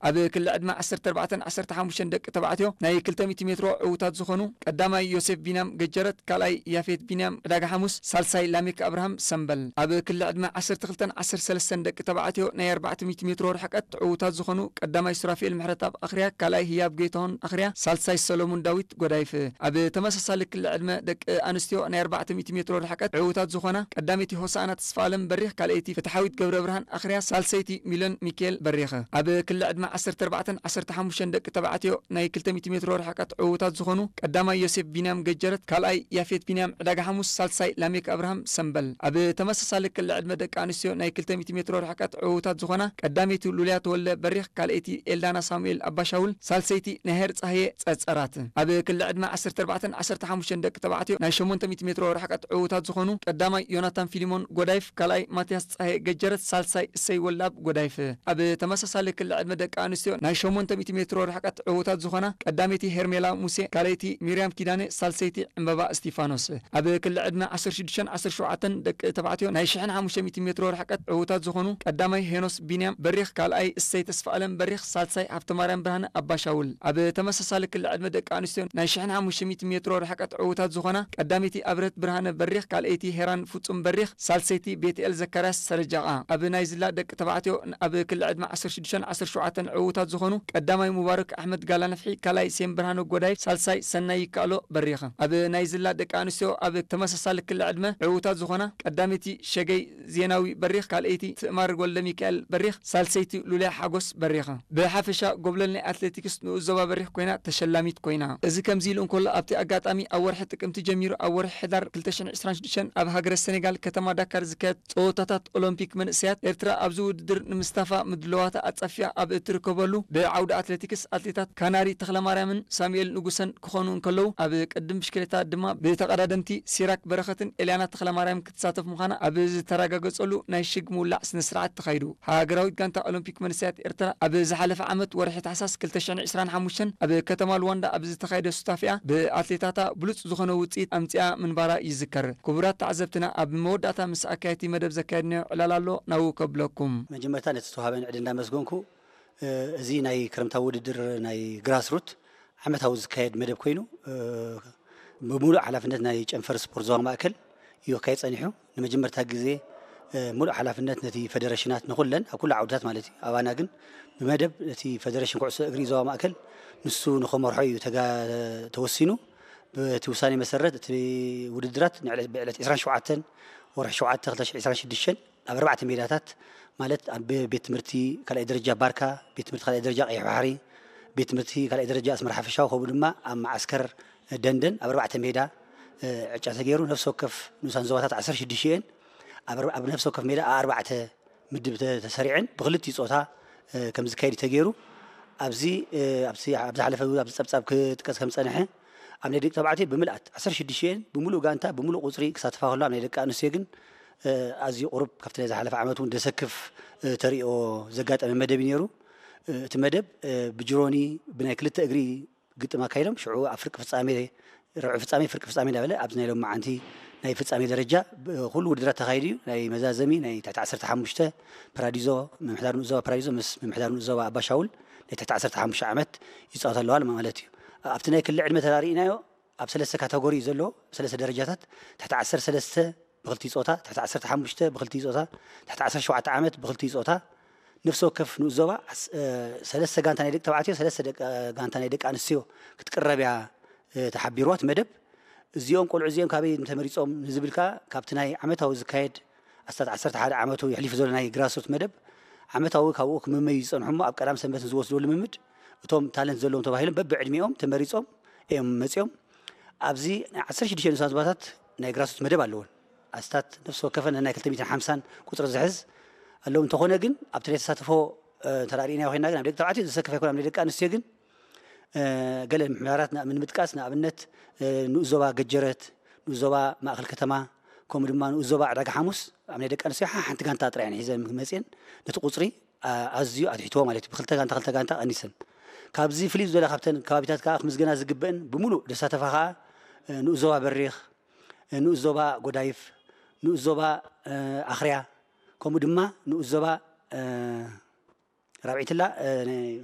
ኣብ ክሊ ዕድመ ዓሰርተ ኣርባዕተን ዓሰርተ ሓሙሽተን ደቂ ተባዕትዮ ናይ ክልተ ሚእቲ ሜትሮ ዕዉታት ዝኾኑ ቀዳማይ ዮሴፍ ቢንያም ገጀረት፣ ካልኣይ ያፌት ቢንያም ዕዳጋ ሓሙስ፣ ሳልሳይ ላሜክ ኣብርሃም ሰምበል። ኣብ ክሊ ዕድመ ዓሰርተ ክልተን ዓሰርተ ሰለስተን ደቂ ተባዕትዮ ናይ ኣርባዕተ ሚእቲ ሜትሮ ርሕቀት ዕዉታት ዝኾኑ ቀዳማይ ሱራፌል ምሕረትኣብ ኣኽርያ፣ ካልኣይ ህያብ ጌታሁን ኣኽርያ፣ ሳልሳይ ሰሎሙን ዳዊት ጎዳይፍ። ኣብ ተመሳሳሊ ክሊ ዕድመ ደቂ ኣንስትዮ ናይ ኣርባዕተ ሚእቲ ሜትሮ ርሕቀት ዕዉታት ዝኾና ቀዳመይቲ ሆሳዕና ተስፋኣለም በሪኽ፣ ካልኣይቲ ፍትሓዊት ገብረ ብርሃን ኣኽርያ፣ ሳልሰይቲ ሚልዮን ሚካኤል በሪኽ። ኣብ ክሊ ዕድመ ዓሰርተ ኣርባዕተን ዓሰርተ ሓሙሽተን ደቂ ተባዕትዮ ናይ ክልተ ሚእቲ ሜትሮ ርሕቀት ዕዉታት ዝኾኑ ቀዳማይ ዮሴፍ ቢንያም ገጀረት፣ ካልኣይ ያፌት ቢንያም ዕዳጋ ሓሙስ፣ ሳልሳይ ላሜክ ኣብርሃም ሰምበል። ኣብ ተመሳሳሊ ክሊ ዕድመ ደቂ ኣንስትዮ ናይ ክልተ ሚእቲ ሜትሮ ርሕቀት ዕዉታት ዝኾና ቀዳመይቲ ሉልያ ተወልደ በሪኽ፣ ካልኣይቲ ኤልዳና ሳሙኤል ኣባሻውል፣ ሳልሰይቲ ነሄር ጻህየ ጸጸራት። ኣብ ክሊ ዕድመ ዓሰርተ ኣርባዕተን ዓሰርተ ሓሙሽተን ደቂ ተባዕትዮ ናይ ሸሞንተ ሚእቲ ሜትሮ ርሕቀት ዕዉታት ዝኾኑ ቀዳማይ ዮናታን ፊሊሞን ጎዳይፍ፣ ካልኣይ ማትያስ ጻህየ ገጀረት፣ ሳልሳይ እሰይ ወልዳብ ጎዳይፍ። ኣብ ተመሳሳሊ ክሊ ዕድመ ደቂ ኣንስትዮ ናይ ሸሞንተ ሚእቲ ሜትሮ ርሕቀት ዕዉታት ዝኾና ቀዳመይቲ ሄርሜላ ሙሴ፣ ካልኣይቲ ሚርያም ኪዳነ፣ ሳልሰይቲ ዕምበባ እስቲፋኖስ። ኣብ ክሊ ዕድመ ዓሰርተ ሽዱሽተን ዓሰርተ ሸውዓተን ደቂ ተባዕትዮ ናይ ሽሕን ሓሙሽተ ሚእቲ ሜትሮ ርሕቀት ዕዉታት ዝኾኑ ቀዳማይ ሄኖስ ቢንያም በሪኽ፣ ካልኣይ እሰይ ተስፋኣለም በሪኽ፣ ሳልሳይ ሃብተማርያም ብርሃነ ኣባሻውል። ኣብ ተመሳሳሊ ክሊ ዕድመ ደቂ ኣንስትዮ ናይ ሽሕን ሓሙሽተ ሚእቲ ሜትሮ ርሕቀት ዕዉታት ዝኾና ቀዳመይቲ ኣብረት ብርሃነ በሪኽ፣ ካልኣይቲ ሄራን ፍጹም በሪኽ፣ ሳልሰይቲ ቤትኤል ዘካርያስ ሰረጃቓ። ኣብ ናይ ዝላ ደቂ ተባዕትዮ ኣብ ክሊ ዕድመ ዓሰርተ ሽዱሽተን ዓሰርተ ሸውዓተን ዕዉታት ዝኾኑ ቀዳማይ ሙባረክ ኣሕመድ ጋላ ነፍሒ፣ ካልኣይ ሴም ብርሃነ ጎዳይ፣ ሳልሳይ ሰናይ ይከኣሎ በሪኽ። ኣብ ናይ ዝላ ደቂ ኣንስትዮ ኣብ ተመሳሳሊ ክሊ ዕድመ ዕዉታት ዝኾና ቀዳመይቲ ሸገይ ዜናዊ በሪኽ፣ ካልኣይቲ ትእማር ወልደ ሚካኤል በሪኽ፣ ሳልሰይቲ ሉልያ ሓጎስ በሪኽ። ብሓፈሻ ጎብለል ናይ ኣትሌቲክስ ንኡስ ዞባ በሪኽ ኮይና ተሸላሚት ኮይና። እዚ ከምዚ ኢሉ እንከሎ፣ ኣብቲ ኣጋጣሚ ኣብ ወርሒ ጥቅምቲ ጀሚሩ ኣብ ወርሒ ሕዳር ክልተ ሽሕን ዕስራን ሽዱሽተን ኣብ ሃገረ ሰኔጋል ከተማ ዳካር ዝካየድ ጸወታታት ኦሎምፒክ መንእሰያት ኤርትራ ኣብዚ ውድድር ንምስታፋ ምድለዋታ ኣጻፊያ ኣብ እትርከበሉ ብዓውዲ ኣትሌቲክስ ኣትሌታት ካናሪ ተኽለማርያምን ሳሙኤል ንጉሰን ክኾኑ እንከለዉ፣ ኣብ ቅድም ብሽክሌታ ድማ ብተቐዳደምቲ ሲራክ በረኸትን ኤልያና ተኽለማርያም ክትሳተፍ ምዃና ኣብ ዝተረጋገጸሉ ናይ ሽግ ምውላዕ ስነ ስርዓት ተኻይዱ። ሃገራዊት ጋንታ ኦሎምፒክ መንእሰያት ኤርትራ ኣብ ዝሓለፈ ዓመት ወርሒ ታሕሳስ ክልተ ሽሕን ዕስራን ሓሙሽተን ኣብ ከተማ ሉዋንዳ ኣብ ዝተኻየደ ሱታፌኣ ብኣትሌታታ ብሉጽ ዝኾነ ውጽኢት ኣምጺኣ ምንባራ ይዝከር። ክቡራት ተዓዘብትና፣ ኣብ መወዳእታ ምስ ኣካየድቲ መደብ ዘካየድናዮ ዕላል ኣሎ፣ ናብኡ ከብለኩም። መጀመርታ ነቲ ዝተዋህበኒ ዕድል እንዳመስገንኩ፣ እ፣ እዚ ናይ ክረምታዊ ውድድር ናይ ግራስሩት ዓመታዊ ዝካየድ መደብ ኮይኑ፣ እ፣ ብምሉእ ሓላፍነት ናይ ጨንፈር ስፖርት ዞባ ማእከል እዩ ክካየድ ጸኒሑ። ንመጀመርታ ግዜ፣ እ፣ ምሉእ ሓላፍነት ነቲ ፈደረሽናት ንኹለን ኣብ ኩሉ ዓውድታት ማለት እዩ። ኣባና ግን ብመደብ ነቲ ፈደረሽን ኩዕሶ እግሪ ዞባ ማእከል ንሱ ንኸመርሖ እዩ ተጋ-፣ ተወሲኑ። በቲ ውሳኔ መሰረት እቲ ውድድራት ንዕለት፣ ብዕለት ዕስራን ሸውዓተን ወርሒ ሸውዓተ ክልተ ሽሕን ዕስራን ሽዱሽተን ኣብ ኣርባዕተ ሜዳታት ማለት ኣብ ቤት ትምህርቲ ካልኣይ ደረጃ ባርካ፣ ቤት ትምህርቲ ካልኣይ ደረጃ ቀይሕ ባሕሪ፣ ቤት ትምህርቲ ካልኣይ ደረጃ ኣስመራ ሓፈሻዊ ከምኡ ድማ ኣብ መዓስከር ደንደን ኣብ ኣርባዕተ ሜዳ፣ እ፣ ዕጫ ተገይሩ። ነፍሲ ወከፍ ንኡሳን ዞባታት ዓሰርተ ሽዱሽተ እየን። ኣብ፣ ኣብ ነፍሲ ወከፍ ሜዳ ኣብ ኣርባዕተ ምድብ ተ-፣ ተሰሪዐን ብክልቲኡ ጾታ፣ እ፣ ከም ዝካየድ እዩ ተገይሩ። ኣብዚ፣ እ፣ ኣብዚ፣ ኣብ ዝሓለፈ ኣብዚ ጸብጻብ ክጥቀስ ከም ዝጸንሐ ኣብ ናይ ደቂ ተባዕትዮ ብምልኣት ዓሰርተ ሽዱሽተ እየን ብምሉእ ጋንታ ብምሉእ ቁጽሪ ክሳተፋ ከሎ ኣብ ናይ ደቂ ኣንስትዮ ግን፣ እ፣ ኣዝዩ ቁሩብ ካብቲ ናይ ዝሓለፈ ዓመት እውን ዘሰክፍ፣ እ፣ ተሪኦ ዘጋጠመ መደብ እዩ ነይሩ። እ፣ እቲ መደብ፣ እ፣ ብጅሮኒ ብናይ ክልተ እግሪ ግጥም ኣካይዶም። ሽዑ ኣብ ፍርቂ ፍጻሜ፣ ርብዒ ፍጻሜ፣ ፍርቂ ፍጻሜ እንዳበለ ኣብዚ ናይ ሎማዓንቲ ናይ ፍጻሜ ደረጃ ብ-፣ ኩሉ ውድድራት ተኻይዱ እዩ። ናይ መዛዘሚ ናይ ትሕቲ ዓሰርተ ሓሙሽተ ፓራዲዞ፣ ምምሕዳር ንኡስ ዞባ ፓራዲዞ ምስ ምምሕዳር ንኡስ ዞባ ኣባሻውል ናይ ትሕቲ ዓሰርተ ሓሙሽተ ዓመት ይጻወታ ኣለዋ ማለት እዩ። ኣብቲ ናይ ክሊ ዕድመ ተራሪእናዮ ኣብ ሰለስተ ካተጎሪ እዩ ዘሎ፣ ሰለስተ ደረጃታት፣ ትሕቲ ዓሰርተ ሰለስተ ብክልቲኡ ጾታ፣ ትሕቲ ዓሰርተ ሓሙሽተ ብክልቲኡ ጾታ፣ ትሕቲ ዓሰርተ ሸውዓተ ዓመት ብክልቲኡ ጾታ፣ ነፍሲ ወከፍ ንኡስ ዞባ ዓስ-፣ እ፣ ሰለስተ ጋንታ ናይ ደቂ ተባዕትዮ፣ ሰለስተ ደቂ፣ ጋንታ ናይ ደቂ ኣንስትዮ ክትቅረብ እያ፣ እ፣ ተሓቢርዋ እቲ መደብ። እዚኦም ቆልዑ እዚኦም ካበይ ተመሪጾም ንዝብል ከኣ ካብቲ ናይ ዓመታዊ ዝካየድ ኣስታት ዓሰርተ ሓደ ዓመቱ የሕሊፉ ዘሎ ናይ ግራስሩት መደብ ዓመታዊ ካብኡ ክምመዩ ዝጸንሑ እሞ ኣብ ቀዳም ሰንበት ንዝወስድዎ ልምምድ እቶም ታለንት ዘለዎም ተባሂሎም በብዕድሚኦም ተመሪጾም እዮም መጺኦም። ኣብዚ ናይ ዓሰርተ ሽዱሽተ ንኡሳን ዞባታት ናይ ግራስሩት መደብ ኣለወን። ኣስታት ነፍሲ ወከፈን ናይ ክልተ ሚእትን ሓምሳን ቁጽሪ ዝሕዝ ኣለዉ። እንተኾነ ግን ኣብቲ ናይ ተሳትፎ፣ እ፣ እንተ ርኢናዮ ኮይንና ግን ኣብ ደቂ ተባዕትዮ ዘሰክፍ ኣይኮነ፣ ኣብ ናይ ደቂ ኣንስትዮ ግን፣ እ፣ ገለ ምሕደራት ና-፣ ንምጥቃስ ንኣብነት፣ እ፣ ንኡስ ዞባ ገጀረት፣ ንኡስ ዞባ ማእከል ከተማ፣ ከምኡ ድማ ንኡስ ዞባ ዕዳጋ ሓሙስ ኣብ ናይ ደቂ ኣንስትዮ ሓ-፣ ሓንቲ ጋንታ ጥራይ እየን ሒዘን መጺአን ነቲ ቁጽሪ፣ ኣ-፣ ኣዝዩ ኣትሒትዎ ማለት እዩ። ብክልተ ጋንታ፣ ክልተ ጋንታ ቀኒሰን። ካብዚ ፍልይ ዝበለ ካብተን ከባቢታት ከኣ ክምስገና ዝግበእን ብምሉእ ዘሳተፋ ከኣ፣ እ፣ ንኡስ ዞባ በሪኽ፣ እ፣ ንኡስ ዞባ ጎዳይፍ፣ ንኡስ ዞባ፣ እ፣ ኣኽርያ፣ ከምኡ ድማ ንኡስ ዞባ፣ እ፣ ራብዒትላ፣ እ፣ ነ-፣